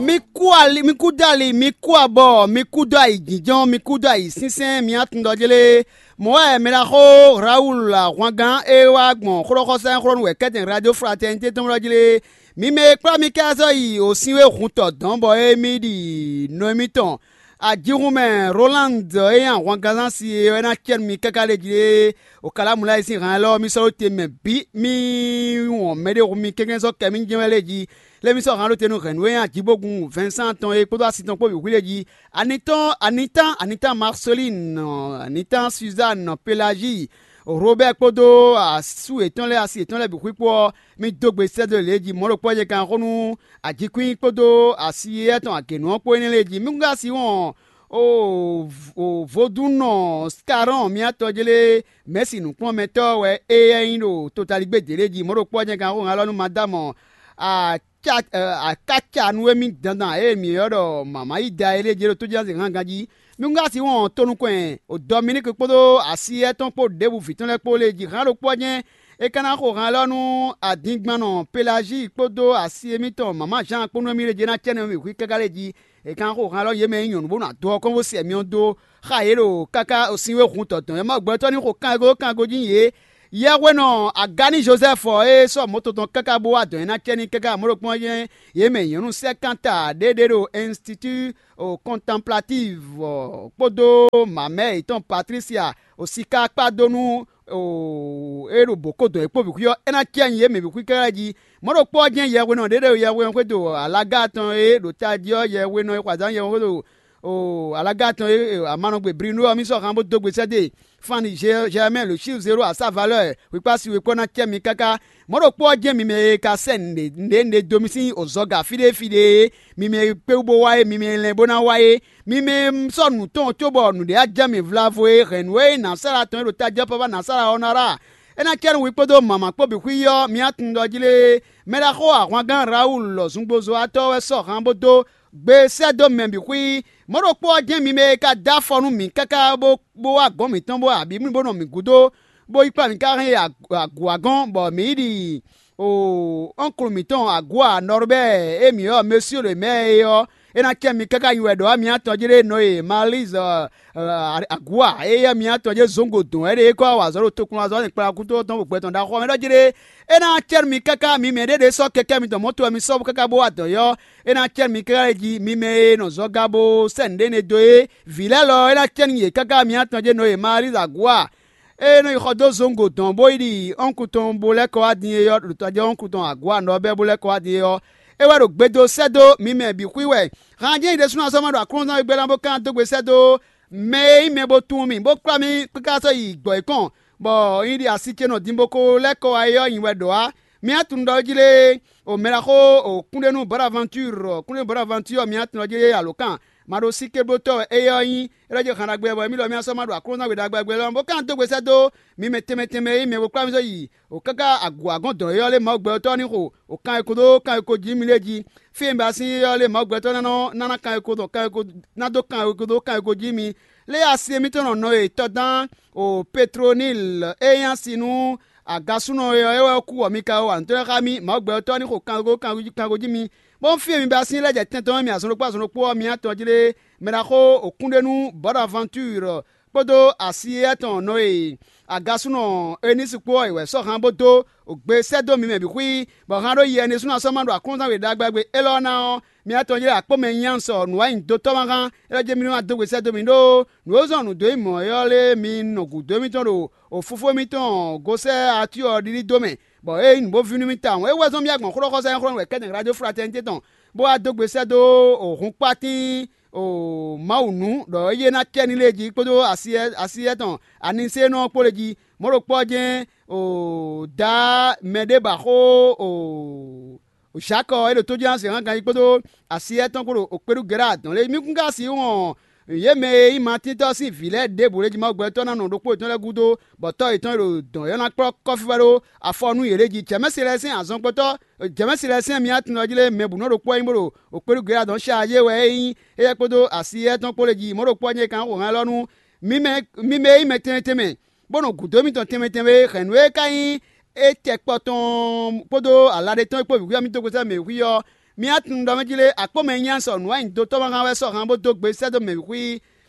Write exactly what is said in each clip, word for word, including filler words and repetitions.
Mi kú ali, mi kú dó ali, mi kú abɔ, mi kú dó ayǐjínjɔ́n, mi kú dó ayǐsinsɛn, mi atundɔjlé. Mɔ̌ wɛ mɛɖaxó Rawulu ahwangán e wá gbɔn xlɔ́xɔsá e xlɔ́ nú wɛ̌kɛ́tɛn Radio Fraternité tɔn lɔ jlé. Mi mɛ e kplá mi ká sɔ́ yi osinwé hun tɔ dɔ̌n bɔ émí ɖi nɔ émítɔn. Ajihun mɛ Roland e nyí ahwangán si é wɛ ná cɛ́ nú mi káká lě jí é. Okalámulá e sín han élɔ́ mi sɔ́ ɖó te mɛ bǐ, mì wɔn mɛɖé hu mi kɛ́nkɛ́n sɔ́ kɛ mì jɛ́n wɛ lě jí. Lě mi sɔ́ han ɖó te nú hɛ̌nnu e nyí Ajíbógun Vɛnsán tɔn é kpódó asi tɔn kpó bǐ xwí lě jí. Anitán, Anitán, Anitán Marcelin, Anitán Suzanne, Pelagie, Robert kpódó asú yětɔn lɛ́ɛ, asi yětɔn lɛ́ɛ bǐ xwí kpó ɔ́, mì dó gbe sɛ́ dó lě jí. Mɔ̌ ɖokpó ɔ́ nyɛ kan xó nú Ajíkwín kpódó asi éyɛ́ tɔn agě nú ɔ́ kpó énɛ́ lɛ́ɛ jí. Mì kún ka si wɔn o vodúnnɔ Scarɔn mía tɔjlé mɛ̌si nǔkplɔ́nmɛtɔ́ wɛ éyɛ́ nyí ɖo totaligbé dě lɛ́ɛ jí. Mɔ̌ ɖokpó ɔ́ nyɛ kan xó han élɔ́ nú Madámɔ Akáca nú émí dandan e mǐ ylɔ́ ɖɔ mama yí da é lɛ́ɛ jí ɖo tójínazin hángan jí. Mi kún ka sixú wɔn tonukɔn o Dɔminíki kpódó asi éyɛ́ tɔn kpó ɖěbǔ vǐ tɔn lɛ́ɛ kpó lě jí. Hǎn ɖokpó ɔ́ jɛ́n é ka ná xo han élɔ́ nú adingbannɔ Pelazíi kpódó asi émítɔn mama Zan kpó nú émí lě jí é ná cɛ nú mì hwí káká lě jí. È ka ná xo han élɔ́ yě mɛ e nyí nyɔ̌nu bó nɔ ado ɔ́ kɔn bó sɛ myɔ dó xá yě ɖo káká sinwé hun tɔtɔn e Mawu gbɛtɔ́ ní xo kanwekó kanwekó jí yě. Yɛhwenɔ Agáni Jozɛ́fu ɔ́ e sɔ́ mɔ̌ tɔn tɔn káká bó wá dɔ̌n ɛ ná cɛ n'i káká mɔ̌ ɖokpɔ́n ɔ́ jɛ́n yě mɛ nyɔ̌nu sɛ́kánta ɖé ɖé ɖo Ɛnstitú Kɔntanplatív kpódó mamɛ yětɔn Patlísia siká kpá dó nú é ɖo bǒ kó dɔn é kpó bǐ xwí ɔ́, é ná cɛ nyi yě mɛ bǐ xwí káká jí. Mɔ̌ ɖokpó ɔ́ jɛ́n yɛhwenɔ ɖé ɖo yɛhweɔ́n xwédo alaga tɔn e ɖo tají ɔ́, yɛhwenɔ e xɔ azǎn yɛhweɔ́n xwédo alanɔgbe Brinu ɔ́, mì sɔ́ han bó dó gbe sɛ́ dó e. Fanni Jɛmɛ Lusiu Zero a sa valeur wǐkpási wěkpɔ́ ná cɛ mi káká. Mɔ̌ ɖokpó ɔ́ jɛ́n mi mɛ e ka sɛ́ nǔɖé nǔɖé dó mi sín ozɔga fí ɖé fí ɖé é, mi mɛ e kpé wú bó wá é, mi mɛ e lɛn bó ná wá é, mi mɛ e sɔ́ nǔ tɔn cóbɔ nǔɖé á jɛ mi vlavo é, hɛ̌nnu e nyí nǎsára tɔn e ɖo tají ɔ́ papa nǎsára ɔ́ ná ɖa. É ná cɛ nú hwi kpódó mama kpó bǐ xwí ɔ́, mi atundɔ jí lé. Mɛɖaxó ahwangán Rawulu lɔ zungbozɔ́watɔ́ wɛ sɔ́ han bó dó gbe sɛ́ dó mɛ bǐ xwí. Mɔ̌ ɖokpó ɔ́ jɛ́n mi mɛ e ka dó afɔ nú mǐ káká bó bó wá gɔ̌n mǐtɔn bó abǐ bó nɔ mǐ gúdo, bó yi kplá mǐ ká hɛn yi agǔ wá gɔ́n, bɔ mǐ yi ɖi ɔ́nklu mǐtɔn Agǔa Nɔrbɛ́ɛ e mǐ ylɔ́ Mesío ɖo mɛ̌ é ɔ́, é ná cɛ mi káká nyi wɛ ɖɔ wá mi atɔn jlé nɔ e Malízɔ Agǔa e yɛ́ mi atɔn jlé zǒngo dɔn wɛ ɖe é kɔ́ wá azɔ̌ ɖo tokpɔnlazɔ́ kplakútɔ́ tɔn ɖo gbɛ tɔn ɖaxó ɔ́ mɛ ɖɔ jlé. É ná cɛ mi káká mi mɛ ɖé ɖě sɔ́ kɛkɛ́ mitɔn mɔ̌ tɔn wɛ mi sɔ́ bó káká bó wá dɔ̌n ɔ́, é ná cɛ mi káká lɛ́ɛ jí. Mi mɛ e nɔ zɔga bó sɛ́ nǔɖé énɛ́ dó é, vǐ lɛ́ɛ lɔ é ná cɛ nú yě káká mi atɔn jlé nɔ e Malízɔ Agǔa e nɔ yi xɔ dó zɔngo dɔn bó yi ɖi ɔ́nkú tɔn bó lɛ́ kɔ wá din é ɔ́, ɖo tɔjɛ́ ɔ́nkú tɔn Agua nɔ ɔ́ bɛ́ bó lɛ́ kɔ wá din é ɔ́, é wɛ ɖo gbe dó sɛ́ dó mi mɛ bǐ xwí wɛ. Han jɛ́n nyɛ ɖésúnɔ sɔ́ ma ɖo Aklúnɔzán e gbɛ́ ná bó ka ná dó gbe sɛ́ dó mɛ e nyí mɛ bó tunwun mì bó kplá mì káká sɔ́ yi gbɔ̌ yěkɔn, bɔ nyɛ ɖi asi ce nɔ din bó ko lɛ́ kɔ wá é ɔ́, nyi wɛ ɖɔ ǎ. Mi atun ɖɔ jí lé, o mɛ ɖaxó o kúnɖénú Bonaventure, kúnɖénú Bonaventure mi atun ɖɔ jí lé alǒkan ma ɖo síkéblótɔ́ wɛ éyɛ́ ɔ́ nyí, é ɖɔ jí han ɖagbe bɔ émí ɖɔ mì asɔ́ ma ɖo Aklúnɔzán we ɖagbe lɔ bó ka dó gbe sɛ́ dó mi mɛ tɛnmɛ tɛnmɛ e nyí mɛ bó kplá mì sɔ́ yi o káká agǔ agɔ́n dɔn é ɔ́ lé Mawu gbɛ ɔ́ tɔ́ ní xo o kan e ko dó kan e ko jí mì lé jí. Fí e un ba sín é ɔ́ lé Mawu gbɛtɔ́ ná nɔ ná ná kan e ko dɔn kan e ko ná dó kan e ko dó kan e ko jí mi. Lé asi émítɔn nɔ nɔ e tɔdán o Petronil e nyí asi nú agasúnɔ e ɔ́ é wɛ kú bɔ mi ka wa nǔ tɔn xá mì. Mawu gbɛtɔ́ ní xo kango kango jí mi. Bó fí e mi ba sín lɛ́ jɛ tɛn tɔn mɛ azɔn ɖokpó azɔn ɖokpó ɔ́, mi atɔn jí lé mɛ ɖaxó o kúnɖénú Bɔnavantur kpódó asi éyɛ́ tɔn nɔ e agasúnɔ Enísi kpó ɔ́, è wɛ sɔ́ han bó dó gbe sɛ́ dó mi mɛ bǐ xwí, bɔ han ɖó yi ɛnɛ sú ná sɔ́ ma ɖo aklúnɔzán we ɖagbe élɔ́ ná ɔ́, mi atɔn jlé akpó mɛ nyanya sɔ nǔwanyido tɔ́ ma hán, é ɖɔ jɛ́n mi ní wá dó gbe sɛ́ dó mi ɖó nǔ e zɔ́n nǔ dó nyí mɔ̌ é ɔ́ lé mi nɔ gǔdo émítɔn ɖo òfófó émítɔn gosɛ́ atyɔ́ ɔ́ ɖiɖí dó mɛ, bɔ é nyí nǔ bó vín nú mì tawun. É wɛ zɔ́n mì agbɔ̌n xó ɖɔ xɔsá nyɔ́xɔ́ wɛ kɛ́tɛn Radio Fraternité tɔn, bó wá dó gbe sɛ́ dó hun kpátín o Mawu nú ɖɔ é yé ná cɛ ní lě jí kpódó asi étɔn aniseenɔ ɔ́ kpó lě jí. Mɔ̌ ɖokpó ɔ́ jɛ́n o da mɛ ɖé ba xó o Zǎkɔ e ɖo tójínázin hán ganjí kpódó asi étɔn kpó ɖo okpéɖu Gɛ̌ra dɔn lé. Mi kún ka sixú wɔn yě mɛ e nyí Matín tɔ́ sín vǐ lɛ́ɛ ɖěbǔ lě jí Mawu gbɛtɔ́ ná nɔ ɖokpó yětɔn lɛ́ɛ gúdo, bɔ tɔ́ yětɔn e ɖo dɔ̌n ɔ́ ná kplɔ́ kɔ́fífá ɖó afɔ nú yě lě jí. Jɛ̌mɛ́si lɛ́ɛ sín azɔngbɔ́tɔ́ Jɛ̌mɛ́si lɛ́ɛ sín myátɔn ɔ́ jí lé mɛ bǔ nɔ ɖokpó wɛ nyí bó ɖo okpéɖu Gɛ̌ra dɔn ṣáájé wɛ é nyí éyɛ́ kpódó asi éyɛ́ tɔn kpó lě jí. Mɔ̌ ɖokpó ɔ́ nyɛ kan xo hɛn élɔ́ nú mi mɛ e nyí mɛ tɛnmɛ tɛnmɛ, bó nɔ gǔdo émítɔn tɛnmɛ tɛnmɛ e hɛ̌nnu e ka nyí étɛkpɔ tɔn kpódó ala ɖé tɔn e kpó bǐ xwíxwí ɔ́ mì dó gosɛ́ mɛ xwí ɔ́, Mi á tunwun ɖɔ mɛ jí lé, akpó mɛ nyanya sɔ nǔ wɛ nyi dotɔ́ ma hán wɛ sɔ́ han bó dó gbe sɛ́ dó mɛ bǐ xwí.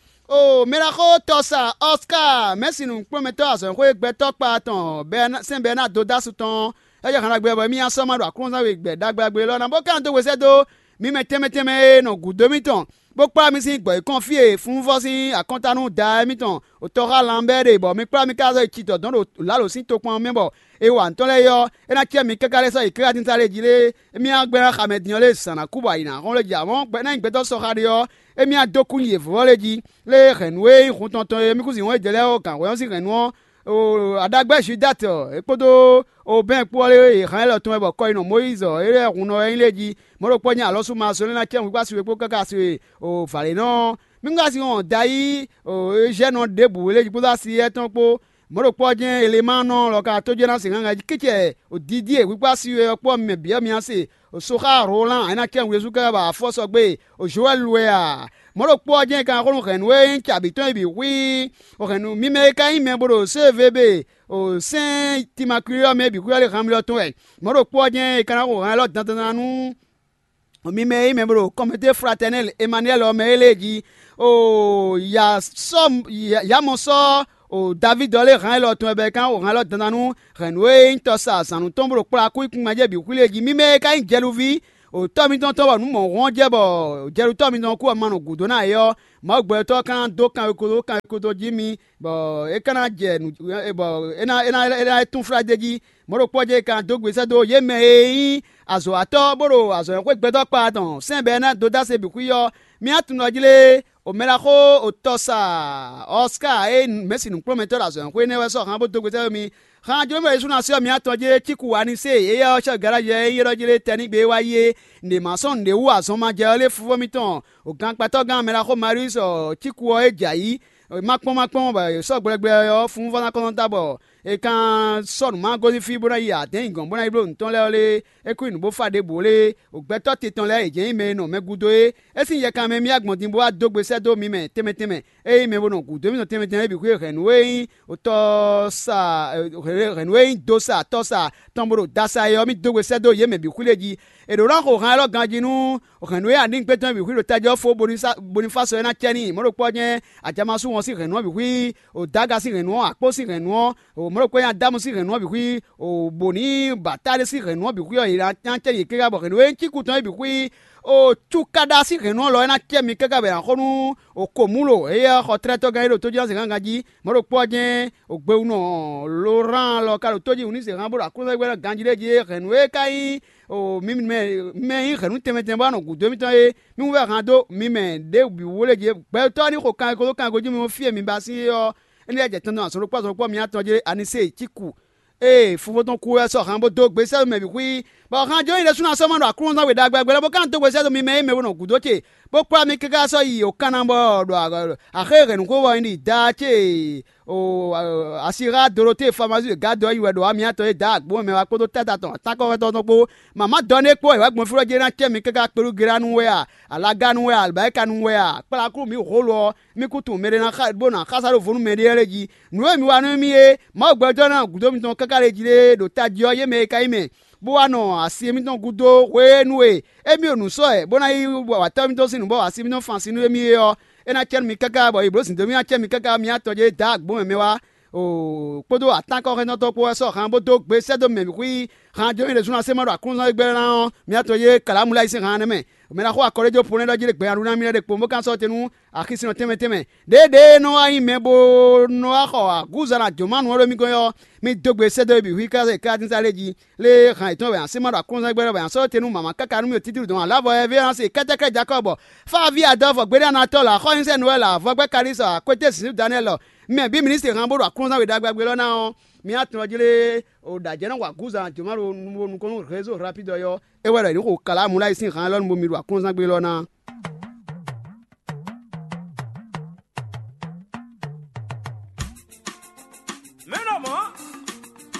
Oo, mɛ ɖaxó tɔsa Ɔská, mɛ̌si nǔkplɔ́nmɛtɔ́ azɔ̌xwé gbɛtɔ́ kpa tɔn sɛ́n bɛ́ ná dó dó asú tɔn ɔ́, é jɛ han ɖagbe bɔ émí ná sɔ́ má ɖo aklúnɔzán we gbɛ ɖagbe ɖagbe élɔ́ ná, bó ka nɔ dó hwesɛ́ dó mi mɛ tɛnmɛ tɛnmɛ e nɔ gǔdo mítɔn, bó kplá mi sín gbɔ̌ yěkɔn fí e fúnvɔ́ sín akɔntanú da émítɔn tɔxá lanbɛ́ ɖe, bɔ mi kplá mi ká zɔ́ yi ci dɔ̌dɔn ɖo lǎlo sín tokpɔn ɔ́ mɛ, bɔ è wa nǔ tɔn lɛ́ɛ é ɔ́, é ná cɛ mi káká lɛ́ sɔ́ yi káká tíntá lɛ́ɛ jí lé? Émí ná gbɛ́ ná xamɛ din ɔ́ lé zǎn ná kú bɔ ayǐ ná hɔn lé jí, amɔ̌ gbɛ́ ná nyí gbɛtɔ́ sɔxa ɖé ɔ́, émí ná dó kú nyi yě vɔ́vɔ́ lé jí. Lé hɛ̌nnu e nyí hun tɔn tɔn e mì kú zǐn wɔn jɛ lɛ́ɛ ɔ́, gǎnhwɛ ɔ́ sín hɛ̌nnu ɔ́, aɖagbɛ́ Judati ɔ́, é kpódó Obɛ́n kpó ɔ́ lé yě hán élɔ́ tɔn wɛ bɔ kɔ e nɔ Mɔyízi ɔ́, é lɛ́ hun nɔ wɛ nyí lé jí. Mɔ̌ ɖokpó ɔ́ nyí alɔ́súmazo lé ná cɛ wǐwá si we kpó káká si we vǎlé nɔ ɔ́. Mí ka sin wɔn dayí Ezhɛ́nɔ ɖěbǔ lé jí kpódó asi éyɛ́ tɔn kpó. Mɔ̌ ɖokpó ɔ́ jɛ́n Elemáanɔ lɔ ka tó jɛ́n ná se hánhán jí kicɛ ɖiɖí e hwíkpá si we ɔ́ kpó ɔ́, mi mɛ bǐ ɔ́ mi ná se. Soxá Rolán é ná cɛ́n Jezu káká bɔ afɔ́sɔgbe Jowɛ́lu wɛ a? Mɔ̌ ɖokpó ɔ́ jɛ́n è ka ná xo nú hɛ̌nnu e nyí cabǐ tɔn é bǐ xwíí. Hɛ̌nnu mímɛ́ e ka nyí mɛ bo ɖo sévebe sɛ́n Timakulí ɔ́ mɛ é bǐ xwíí ɔ́ lé han mì lɔ tɔn wɛ. Mɔ̌ ɖokpó ɔ́ jɛ́n è ka ná xo han élɔ́ dandan nú mi mɛ e nyí mɛ bo ɖo kɔmité fratɛnɛli Emaniyɛ́li ɔ́ mɛ é lée jí. Oo, ya sɔ́ ya mɔ sɔ́ o Davídi ɔ́ lé han élɔ́ tɔn wɛ bɔ é ka nɔ xo han élɔ́ dandan nú hɛ̌nnu e nyí tɔsa zǎnnu tɔn bó ɖo kplá kú nyi kúngban jɛ bǐ xwí lée jí. Mi mɛ e ka nyí jɛluví o tɔ́ mitɔn tɔn bɔ nǔ mɔ̌hun ɔ́ jɛ bɔ jɛlutɔ́ mitɔn kú ɔ́ ma nɔ gǔdo ná é ɔ́, Mawu gbɛtɔ́ ɔ́ ka ná dó kanwekódó kanwekódó jí mi, bɔ é ka ná jɛ nǔ bɔ é ná é ná é ná tún flá d'é jí. Mɔ̌ ɖokpó ɔ́ jɛ é ka ná dó gbe sɛ́ dó yě mɛ e nyí azɔ̌watɔ́ bó ɖo azɔ̌ e xwé gbɛtɔ́ kpa tɔn sɛ́n bɔ é ná dó dó ase bǐ xwí ɔ́, mi ná tunwun ɖɔ jí lé? O mɛ ɖaxó o tɔsa Ɔská e mɛ̌si nǔkplɔ́nmɛtɔ́ ɖo azɔ̌ e xwé nɛ́ wɛ sɔ́ han bó dó gbe sɛ́ dó mi. Han jló mɛ Yesú ná sɔ́ mi atɔn jí cíku Anisée, éyɛ́ ɔ́, cɛ́ Galadi e nyí élɔ́ jí lé tɛnígbe e wá yi é, nǔɖé ma sɔ́ nǔɖé wú azɔn ma jɛ ɔ́ lé fúfó mitɔn, o gankpatɔ́gán mɛ ɖaxó Marius ɔ́, cíku ɔ́ é jɛ ayǐ, ma kpɔ́n ma kpɔ́n bɔ è sɔ́ gblɛgbɛ ɔ́ fún vɔ́ ná kɔn ta bɔ è ka sɔ́ nǔ ma gosín fí bó ná yi adɛ̌n yi gɔ̌n bó ná yi bló nǔ tɔn lɛ́ɛ ɔ́ lé? É kú nyi nǔ bó fá ɖěbǔ lé? O gbɛtɔ́ titɔn lɛ́ɛ yě jɛ́n nyí mɛ e nɔ mɛ gúdo é. É sín yɛkan mɛ mì wá gbɔn din bó wá dó gbe sɛ́ dó mi mɛ tɛnmɛ tɛnmɛ. Ényí mɛ bo nɔ gǔdo émítɔn tɛnmɛ tɛnmɛ é bǐ xwé hɛ̌nnu e nyí tɔ́sa hɛ̌nnu e nyí dosa tɔ́sa tɔn bó ɖo dasa é ɔ́, mì dó gbe sɛ́ dó yě mɛ bǐ xwí lé jí. È ɖǒ ná xo han élɔ́ ganjí nú hɛ̌nnu e Anígbé tɔn bǐ xwí ɖo tají ɔ́ fó Bonifásɔ é ná cɛ n'i. Mɔ̌ ɖokpó ɔ́ jɛ́n Ajamasú wɔn sín hɛ̌nnu ɔ́ bǐ xwí, o Daga sín hɛ̌nnu ɔ́, Akpó sín hɛ̌nnu ɔ́, o mɔ̌ ɖokpó nyí Adámu sín hɛ̌nnu ɔ́ bǐ xwí, o bǒ ní Batáli sín hɛ̌nnu ɔ́ bǐ xwí ɔ́, yě ná cɛ yě káká bɔ hɛ̌nnu e nyí cíkú tɔn é bǐ xwí. O cúkada sín hɛ̌nnu ɔ́ lɔ é ná cɛ mi káká bɔ è nǎ xo nú o Komúlo, éyɛ́ xɔtlɛ́tɔ́gán e ɖo tójílɔ́zɛngángan jí. Mɔ̌ ɖokpó ɔ́ jɛ́n o gbewunɔ Lorán lɔ ka ɖo tó jí wǔ ní se hán bó ɖo aklúnɔ́gbɛ́nɔ ganjí ɖé jí é hɛ̌nnu e ka nyí o mi mɛ mɛ e nyí hɛ̌nnu tɛnmɛ tɛnmɛ bó wá nɔ gǔdo émítɔn é, mì wú vɛ́ han dó mi mɛ ɖěbǔ wú lé jí. Gbɛtɔ́ ní xo kanwekódó kanwekó jí mi fí e mi ba sín é ɔ́, énɛ́ lɛ́ jɛ tɔn dó azɔn ɖokpó azɔn ɖokpó mi atɔn jí lé Anisée cíku ee fofó tɔn kú wɛ sɔ́ han bó dó gbe sɛ́ dó mɛ bǐ xwí, bɔ han jó nyí ɖésú ná sɔ́ ma ɖo aklúnɔzán we ɖagbe ɖagbe lɛ́ɛ bó ka nɔ dó gbe sɛ́ dó mi mɛ e mɛ bo nɔ gǔdo ce, bó kplá mi káká sɔ́ yi yǒkanna bɔ ɖo axé hɛ̌nnu xó wɔ nyí ɖi daa ce o asixá Doloté Famazu e gǎ dó ɔ́ nyi wɛ ɖo amyatɔn e daa agbǒ mɛ wá kpódó táta tɔn tánkɔ́xɔ́tɔ́ tɔn kpó. Mama dɔn ɖé kpó è wá gbɔn fí ɖɔ jɛ ná cɛ mi káká kpelúgelánu wɛ a, alágánu wɛ a, alibáyíkanu wɛ a, kplá kú mi holo ɔ́, mi kú tunwun mɛɖé ná xa bó ná xásá ɖo vo nú mɛɖé lɛ́ɛ jí. Nǔ e mi wa nú émí é, Mawu gbɛtɔ́ ná gǔdo mitɔn káká lě jí lé ɖo tají ɔ́, yě mɛ e ka nyí mɛ, bó wá nɔ asi émítɔn gúdo hwenu e émí ɖo nǔ sɔ́ wɛ, bó ná yi wa tɔ́ mitɔn sín nǔ bɔ asi émítɔn fan sin nú émí é ɔ́, é ná cɛ nú mi káká bɔ yi blǒ zǐndómí ná cɛ mi káká mi atɔn jɛ dǎ agbǒ mɛ mɛ wá. Oo, kpódó atán kɔ́xɛ́ntɔ́ kpó wɛ sɔ́ han bó dó gbe sɛ́ dó mɛ bǐ xwí. Han jó nyí ɖésú ná sɛ́ ma ɖo aklúnɔzán gbɛ́ ná ɔ́, mi atɔn yé Kalamuláyi sín han nɛ́ mɛ. Mɛ ná xo akɔ́ɖéjó po nɛ́ ɖɔ jí ɖé gbɛnyaɖu ná mì lɛ́ɛ ɖe kpo, bó ka sɔ́ te nú axisínɔ tɛnmɛ tɛnmɛ. Ɖěeɖée nɔ wá nyí mɛ bó nɔ wá xɔ agúza ná jǒmánu ɔ́ ɖo mì gɔ́n ɔ́, mì dó gbe sɛ́ dó é bǐ xwí káká káká lé jí. Lé han yětɔn wɛ a sɛ́ ma ɖo aklúnɔzán gbɛ́ wɛ a sɔ́ te nú màmá káká nú mì ɖo títíɖu dɔn alábɔ ɛ vé ɔ́ ná se kɛ́tɛ́krɛ́ Jakɔ́ɔ bɔ fá ví adɔ́ vɔ gbéɖéanatɔ́ lɔ axɔ́nyinsɛnú wɛ lɔ avɔgbɛ́ Kalísɔ akwété zǐnzín Daniɛ́li lɔ, mɛ bǐ ministri han bó ɖo aklúnɔzán we ɖagbe ɔ́ ná ɔ́, mi atɔn jí lé o ɖo ajɛ̌ ná wa gǔzan jǒmánu nukɔn nú rézo rapídɔ ɔ́, é wɛ ɖɔ è nǐ xo Kalamuláyi sín han élɔ́ nu bo mi ɖo aklúnɔzán gbé lɔ ná.